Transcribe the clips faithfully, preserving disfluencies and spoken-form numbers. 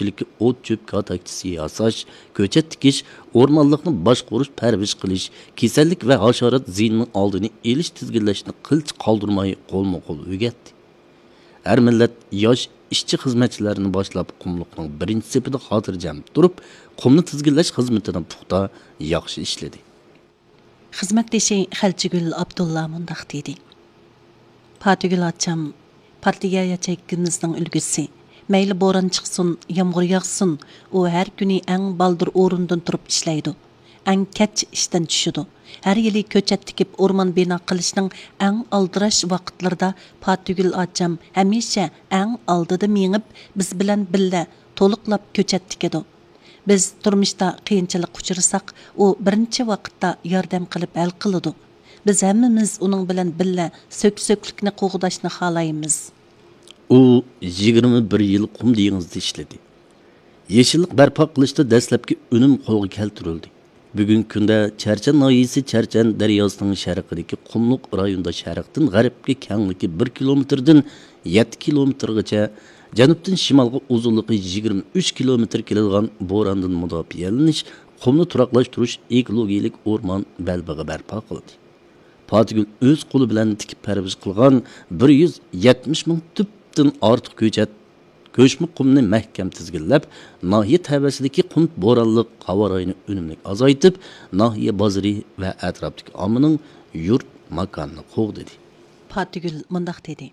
ئىگىچىلىككە ئوت-چۆپ كاتاكچىسى ياساش، كۆچەت تىكىش، ئورمانلىقنى باشقۇرۇش، پەرۋىش قىلىش، كېسەللىك ۋە ھاشارات زىيىنىنىڭ ئالدىنى ئېلىش، تىزگىنلەشنى قىلچە قالدۇرماي قولمۇ قول ئۆگەتتى. ھەر مىللەت ياش ئىشچى-خىزمەتچىلەرنى باشلاپ، قۇملۇقنىڭ بىرىنچى سېپىدە خاتىرجەم تۇرۇپ، قۇمنى تىزگىنلەش خىزمىتىنى پۇختا، ياخشى ئىشلىدى. خىزمەتدىشى خەلچىگۈل ئابدۇللا مۇنداق دېدى: پاتىگۈل ئاچام، پارتىيە ياچېيكىمىزنىڭ ئۈلگىسى. مەيلى بوران چىقسۇن، يامغۇر ياغسۇن، ئۇ ھەر كۈنى ئەڭ بالدۇر ئورنىدىن تۇرۇپ ئىشلەيدۇ. ئەڭ كەچ ئىشتىن چۈشىدۇ. ھەر يىلى كۆچەت تىكىپ، ئورمان بىنا قىلىشنىڭ ئەڭ ئالدىراش ۋاقىتلىرىدا پاتىگۈل ئاچام ھەمىشە ئەڭ ئالدىدا مېڭىپ، بىز بىلەن بىللە تولۇقلاپ كۆچەت تىكىدۇ. بىز تۇرمۇشتا قىيىنچىلىققا ئۇچرىساق، ئۇ بىرىنچى ۋاقىتتا ياردەم قىلىپ ھەل قىلىدۇ. بىز ھەممىمىز ئۇنىڭ بىلەن بىللە سۆك-سۆكلۈكنى قوغداشنى خالايمىز. ئۇ يىگىرمە بىر يىل قۇم دېڭىزىدا ئىشلىدى. يېشىللىق بەرپا قىلىشتا دەسلەپكى ئۈنۈم قولغا كەلتۈرۈلدى. بۈگۈنكى كۈندە چەرچەن ناھىيەسى چەرچەن دەرياسىنىڭ شەرقىدىكى قۇملۇق رايوندا شەرقتىن غەربكە كەڭلىكى بىر كىلومېتىردىن يەتتە كىلومېتىرغىچە، جەنۇبتىن شىمالغا ئۇزۇنلۇقى يىگىرمە ئۈچ كىلومېتىر كېلىدىغان بوراندىن مۇداپىئەلىنىش، قۇمنى تۇراقلاشتۇرۇش، ئېكولوگىيەلىك ئورمان بەلبېغى بەرپا قىلدى. پاتىگۈل ئۆز قولى بىلەن تىكىپ پەرۋىش قىلغان بىر يۈز يەتمىش مىڭ تۈپتىن ئارتۇق كۆچەت، كۆچمە قۇمنى مەھكەم تىزگىنلەپ، ناھىيە تەۋەسىدىكى قۇم بورانلىق ھاۋا رايىنى ئۈنۈملۈك ئازايتىپ، ناھىيە بازىرى ۋە ئەتراپتىكى ئاممىنىڭ يۇرت ماكانىنى قوغدىدى. پاتىگۈل مۇنداق دېدى: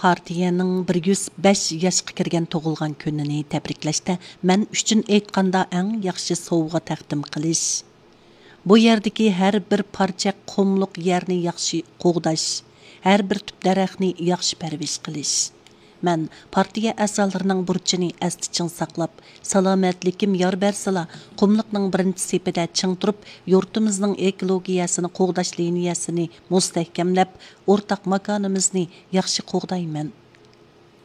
پارتىيەنىڭ بىر يۈز بەش ياشقا كىرگەن تۇغۇلغان كۈنىنى تەبرىكلەشتە مەن ئۈچۈن ئېيتقاندا ئەڭ ياخشى سوۋغا تەقدىم قىلىش. بۇ يەردىكى ھەر بىر پارچە قۇملۇق يەرنى ياخشى قوغداش، ھەر بىر تۈپ دەرەخنى ياخشى پەرۋىش قىلىش. مەن پارتىيە ئەزالىرىنىڭ بۇرچىنى ئەستە چىڭ ساقلاپ، سالامەتلىكىم يار بەرسىلا، قۇملۇقنىڭ بىرىنچى سېپىدە چىڭ تۇرۇپ، يۇرتىمىزنىڭ ئېكولوگىيەسىنى قوغداش لىنىيەسىنى مۇستەھكەملەپ، ئورتاق ماكانىمىزنى ياخشى قوغدايمەن.